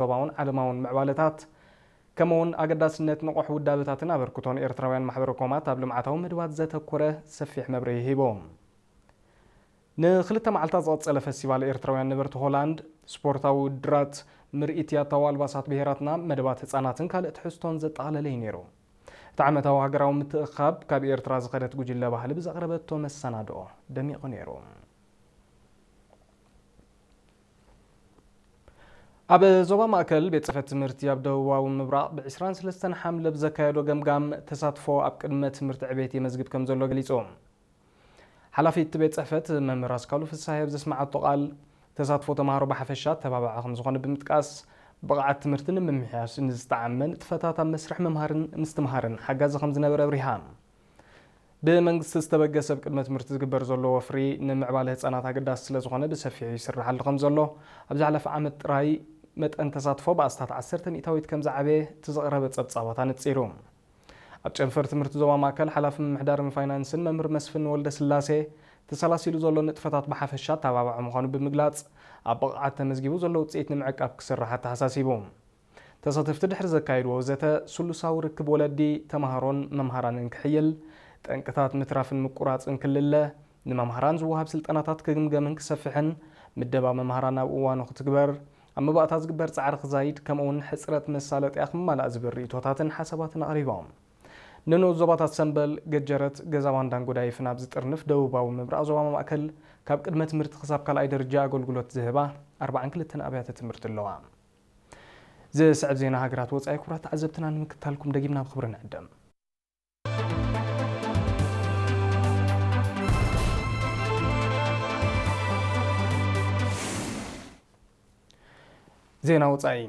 ዞባውን ዓለማውን ምዕባለታት፣ ከምኡውን ኣገዳስነት ንቑሕ ውዳበታትን ኣበርክቶን ኤርትራውያን ማሕበረ ኮማት ኣብ ልምዓታዊ መድባት ዘተኮረ ሰፊሕ መብርሂ ሂቦም። ንክልተ መዓልታት ዝቐጸለ ፈስቲቫል ኤርትራውያን ነበርቲ ሆላንድ፣ ስፖርታዊ ውድድራት፣ ምርኢት ያታዊ ኣልባሳት ብሄራትና፣ መደባት ህጻናትን ካልእ ትሕዝቶን ዘጠቓለለ እዩ ነይሩ። እቲ ዓመታዊ ሃገራዊ ምትእኻብ ካብ ኤርትራ ዝኸደት ጉጅለ ባህሊ ብዘቕረበቶ መሰናድኦ ደሚቑ ነይሩ። ኣብ ዞባ ማእከል ቤት ጽሕፈት ትምህርቲ ኣብ ደቡባዊ ምብራቕ ብ ዕስራን ሰለስተን ሓምለ ብዘካየዶ ገምጋም ተሳትፎ ኣብ ቅድመ ትምህርቲ ዕቤት የመዝግብ ከም ዘሎ ገሊጹ። ሓላፊ እቲ ቤት ጽሕፈት መምህር ኣስካሉ ፍስሃየ ኣብ ዘስምዓቶ ቃል፣ ተሳትፎ ተምሃሮ ብሓፈሻ ተባባዒ ከም ዝኾነ ብምጥቃስ፣ ብቕዓት ትምህርቲ ንምምሕያሽ ንዝጠዓመ ንጥፈታት ኣብ መስርሕ ምምሃርን ምስትምሃርን ሓጋዚ ከም ዝነበረ ኣብሪሃ። ብመንግስቲ ዝተበገሰ ኣብ ቅድመ ትምህርቲ ዝግበር ዘሎ ወፍሪ ንምዕባለ ህጻናት ኣገዳሲ ስለ ዝኾነ ብሰፊሑ ይስርሓሉ ከም ዘሎ፣ ኣብ ዝሓለፈ ዓመት ጥራይ መጠን ተሳትፎ ብኣስታት ዓሰርተ ሚእታዊት ከም ዝዓበየ እቲ ዝቐረበ ጸብጻባት ኣነጺሩ። ኣብ ጨንፈር ትምህርቲ ዞባ ማእከል ሓላፊ ምምሕዳርን ፋይናንስን መምህር መስፍን ወልደ ስላሴ፣ ተሰላሲሉ ዘሎ ንጥፈታት ብሓፈሻ ኣተባባዒ ምዃኑ ብምግላጽ፣ ኣብ ብቕዓት ተመዝጊቡ ዘሎ ውጽኢት ንምዕቃብ ክስራሕ ኣተሓሳሲቡ። ተሳተፍቲ ድሕሪ ዘካየድዎ ዘተ፣ ስሉሳዊ ርክብ ወለዲ፣ ተምሃሮን መምሃራንን ክሕይል፣ ጠንቅታት ምትራፍን ምቁራጽን ክልለ፣ ንመምሃራን ዝወሃብ ስልጠናታት ክግምገምን ክሰፍሕን፣ ምደባ መምሃራን ኣብ እዋኑ ክትግበር፣ ኣብ መባእታ ዝግበር ጻዕሪ ክዛይድ፣ ከምኡውን ሕጽረት መሳለጥያ ክመላእ ዝብል ርእይቶታትን ሓሳባትን ኣቕሪቦም። ንንኡስ ዞባታት ሰምበል፣ ገጀረት፣ ገዛባን ዳንጎዳይፍን ኣብ ዝጥርንፍ ደቡባዊ ምብራቕ ዞባ ማእከል፣ ካብ ቅድመ ትምህርቲ ክሳብ ካልኣይ ደረጃ ኣገልግሎት ዝህባ ኣርባዓን ክልተን ኣብያተ ትምህርቲ ኣለዋ። ዝስዕብ ዜና ሃገራት ወጻኢ ክቡራት ተዓዘብትና ንምክታልኩም ደጊምና ብኽብሪ ንዕደም። ዜና ወጻኢ።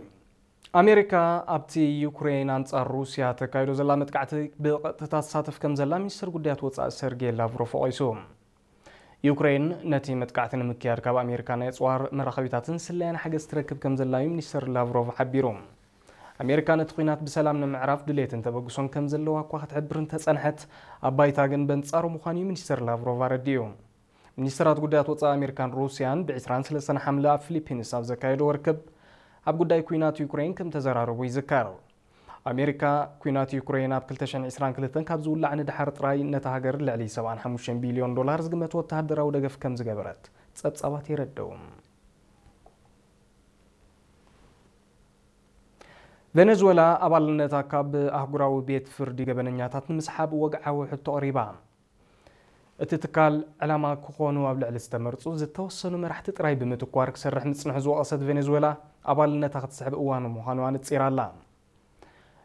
ኣሜሪካ ኣብቲ ዩክሬን ኣንጻር ሩስያ ተካይዶ ዘላ መጥቃዕቲ ብቐጥታ ትሳተፍ ከም ዘላ ሚኒስትር ጉዳያት ወጻኢ ሰርጌይ ላቭሮቭ ወቒሱ። ዩክሬን ነቲ መጥቃዕቲ ንምክያድ ካብ ኣሜሪካ ናይ ኣጽዋር መራኸቢታትን ስለያን ሓገዝ ትረክብ ከም ዘላ እዩ ሚኒስተር ላቭሮቭ ሓቢሩ። ኣሜሪካ ነቲ ኲናት ብሰላም ንምዕራፍ ድሌትን ተበግሶን ከም ዘለዋ እኳ ክትሕብር እንተጸንሐት፣ ኣብ ባይታ ግን በንጻሩ ምዃኑ እዩ ሚኒስተር ላቭሮቭ ኣረዲኡ። ሚኒስተራት ጉዳያት ወጻኢ ኣሜሪካን ሩስያን ብ ዕስራን ሰለስተን ሓምለ ኣብ ፊሊፒንስ ኣብ ዘካየድዎ ርክብ፣ ኣብ ጉዳይ ኲናት ዩክሬን ከም ተዘራረቡ ይዝከር። ኣሜሪካ፣ ኲናት ዩክሬን ኣብ ክልተ ሽሕን ዕስራን ክልተን ካብ ዝውላዕ ንደሓር ጥራይ ነታ ሃገር ልዕሊ ሰብዓን ሓሙሽተን ቢልዮን ዶላር ዝግመት ወተሃደራዊ ደገፍ ከም ዝገበረት ጸብጻባት የረድኡ። ቬኔዙዌላ ኣባልነታ ካብ ኣህጉራዊ ቤት ፍርዲ ገበነኛታት ንምስሓብ ወግዓዊ ሕቶ ኣቕሪባ። እቲ ትካል፣ ዕላማ ክኾኑ ኣብ ልዕሊ ዝተመርጹ ዝተወሰኑ መራሕቲ ጥራይ ብምትኳር ክሰርሕ ምጽንሑ ዝወቐሰት ቬኔዙዌላ፣ ኣባልነታ ክትስሕብ እዋኑ ምዃኑ ኣነጺራ ኣላ።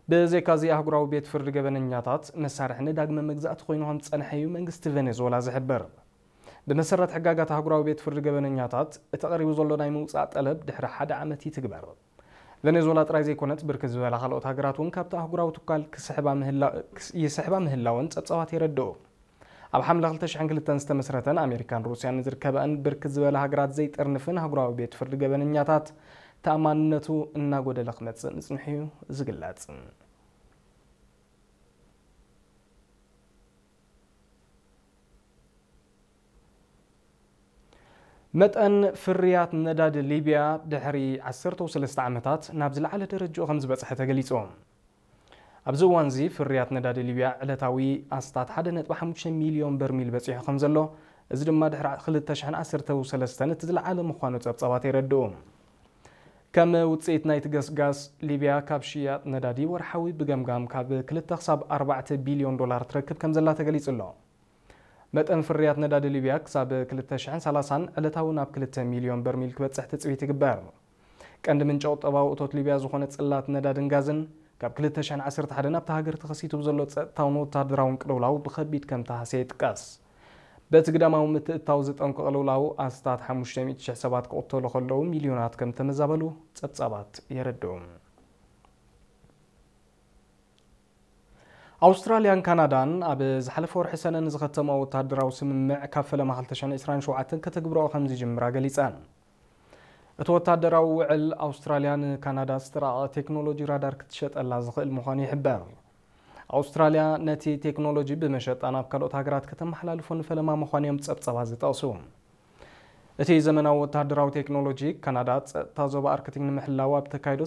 ብዘይካዚ፣ ኣህጉራዊ ቤት ፍርዲ ገበነኛታት መሳርሒ ንዳግመ መግዛእቲ ኮይኑ ከም ዝጸንሐ እዩ መንግስቲ ቬኔዙዌላ ዝሕብር። ብመሰረት ሕጋጋት ኣህጉራዊ ቤት ፍርዲ ገበነኛታት፣ እቲ ቀሪቡ ዘሎ ናይ ምውጻእ ጠለብ ድሕሪ ሓደ ዓመት ይትግበር። ቬኔዙዌላ ጥራይ ዘይኮነት፣ ብርክት ዝበላ ካልኦት ሃገራት እውን ካብቲ ኣህጉራዊ ትካል ክስሕባ ምህላ-፣ ክስ-፣ ይስሕባ ምህላወን ጸብጻባት የረድኡ። ኣብ ሓምለ ክልተ ሽሕን ክልተን ዝተመስረተን ኣሜሪካን ሩስያን ዝርከበኣን ብርክት ዝበላ ሃገራት ዘይጥርንፍን ኣህጉራዊ ቤት ፍርዲ ገበነኛታት፣ ተኣማንነቱ እናጎደለ ክመጽእ ምጽንሑ እዩ ዝግለጽ። መጠን ፍርያት ነዳዲ ሊብያ ድሕሪ ዓሰርተ ሰለስተ ዓመታት ናብ ዝለዓለ ደረጃኡ ከም ዝበጽሐ ተገሊጹ። ኣብዚ እዋንዚ ፍርያት ነዳዲ ሊብያ ዕለታዊ ኣስታት ሓደ ነጥቢ ሓሙሽተ ሚልዮን በርሚል በጺሑ ከም ዘሎ፣ እዚ ድማ ድሕሪ ክልተ ሽሕን ዓሰርተ ሰለስተን እቲ ዝለዓለ ምዃኑ ጸብጻባት የረድኡ። ከም ውጽኢት ናይቲ ገስጋስ፣ ሊብያ ካብ ሽያጥ ነዳዲ ወርሓዊ ብገምጋም ካብ ክልተ ክሳብ ኣርባዕተ ቢልዮን ዶላር ትረክብ ከም ዘላ ተገሊጹ ኣሎ። መጠን ፍርያት ነዳዲ ሊብያ ክሳብ ክልተ ሽሕን ሰላሳን ዕለታዊ ናብ ክልተ ሚልዮን በርሚል ክበጽሕ ትጽቢት ይግበር። ቀንዲ ምንጪ ቁጠባዊ እቶት ሊብያ ዝኾነ ጽላት ነዳድን ጋዝን፣ ካብ ክልተ ሽሕን ዓሰርተ ሓደን ኣብታ ሃገር ተኸሲቱ ብዘሎ ጸጥታውን ወተሃደራውን ቅልውላው ብኸቢድ ከም ተሃስየ ይጥቀስ። በቲ ግዳማዊ ምትእትታው ዝጠንቆ ቅልውላው ኣስታት ሓሙሽተ ሚእቲ ሽሕ ሰባት ክቕተሉ ከለዉ፣ ሚልዮናት ከም ተመዛበሉ ጸብጻባት የረድኡ። ኣውስትራልያን ካናዳን ኣብ ዝሓለፈ ወርሒ ሰነ ንዝኸተሞ ወተሃደራዊ ስምምዕ ካብ ፈለማ ክልተ ሽሕን ዕስራን ሸውዓተን ከተግብረኦ ከም ዝጅምራ ገሊጸን። እቲ ወተሃደራዊ ውዕል፣ ኣውስትራልያ ንካናዳ ዝተራቐቐ ቴክኖሎጂ ራዳር ክትሸጠላ ዝኽእል ምዃኑ ይሕበር። ኣውስትራልያ ነቲ ቴክኖሎጂ ብመሸጣ ናብ ካልኦት ሃገራት ከተመሓላልፎ ንፈለማ ምዃኑ እዮም ጸብጻባት ዝጠቕሱ። እቲ ዘመናዊ ወተሃደራዊ ቴክኖሎጂ፣ ካናዳ ጸጥታ ዞባ ኣርክቲክ ንምሕላው ኣብ ተካይዶ